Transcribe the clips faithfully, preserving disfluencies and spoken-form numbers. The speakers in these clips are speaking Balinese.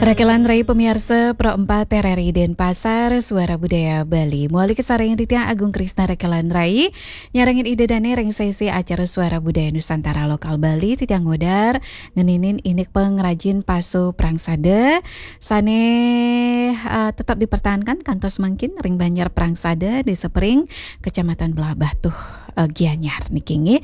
Rakelan Rai pamiarsa, Pro empat R R I Denpasar, Suara Budaya Bali. Mawali kasarengin titiang Agung Krisna Rakelan Rai, nyarengin Ida Dane ring sesi acara Suara Budaya Nusantara Lokal Bali, titiang ngudar ngeninin indik pangrajin pasu prangsada, sane, eh, tetap dipertahankan kantos mangkin ring Banjar Prangsada, Desa Pering, Kecamatan Blahbatuh, eh, Gianyar niki nggih.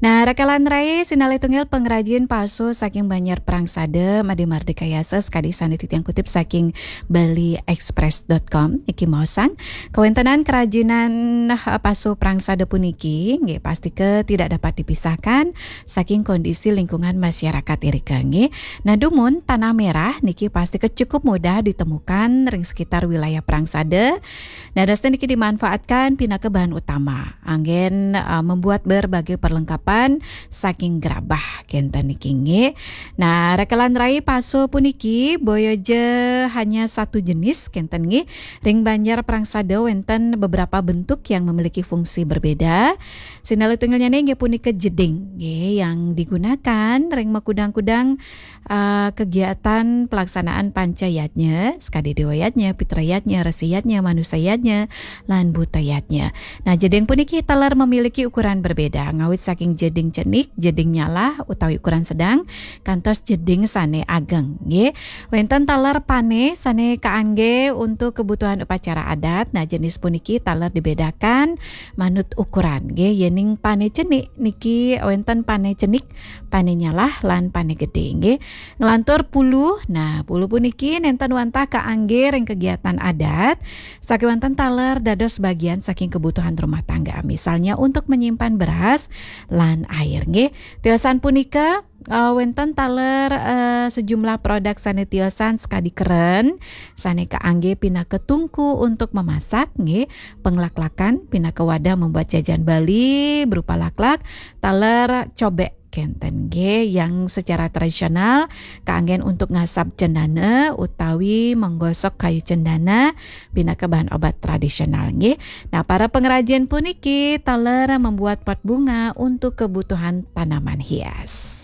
Nah, Rakelan Rai, sinalih tunggil pangrajin pasu saking Banjar Prangsada, Made Mardika Yasa, sakadi sane titiang kutip saking bali express dot com, niki maosang, kawentenan kerajinan, eh, pasu prangsada puniki, nggih, pastika tidak dapat dipisahkan saking kondisi lingkungan masyarakat irika, nggih. Nah, dumun tanah merah niki pastika cukup mudah ditemukan ring sekitar wilayah prangsada. Dadosne niki dimanfaatkan pinaka bahan utama anggen, eh, membuat berbagai perlengkapan saking gerabah kenten niki nggih. Nah, Rakelan Rai, pasu puniki boya ja hanya satu jenis kenten nggih. Ring Banjar Prangsada wenten beberapa bentuk yang memiliki fungsi berbeda. Sinalih tunggilnyane inggih punika jeding nggih, yang digunakan ring makudang-kudang, eh, kegiatan pelaksanaan panca yadnya, sakadi dewa yadnya, pitra yadnya, resi yadnya, manusa yadnya, lan buta yadnya. Nah, jeding puniki taler memiliki ukuran berbeda, ngawit saking jeding cenik, jeding nyalah utawi ukuran sedang, kantos jeding sane ageng, nggih. Wenten taler pane sane kaangge untuk kebutuhan upacara adat. Nah, jenis puniki taler dibedakan manut ukuran, nggih. Yening pane cenik niki wenten pane cenik, pane nyalah, lan pane gede, nggih. Nglantur pulu. Nah, pulu puniki nenten wantah kaangge ring kegiatan adat, sakewanten taler dados bagian saking kebutuhan rumah tangga, misalnya untuk menyimpan beras lan air, nggih. Tiosan punika, eh, wenten taler, eh, sejumlah produk sane tiosan sakadi keren, sane kaangge pinaka tungku untuk memasak, nggih. Penglaklakan pinaka wadah membuat jajan Bali berupa laklak, taler cobek kenten nggih, yang secara tradisional kaanggen untuk ngasap cendana utawi menggosok kayu cendana pinaka bahan obat tradisional nggih. Nah, para pengrajin puniki taler membuat pot bunga untuk kebutuhan tanaman hias.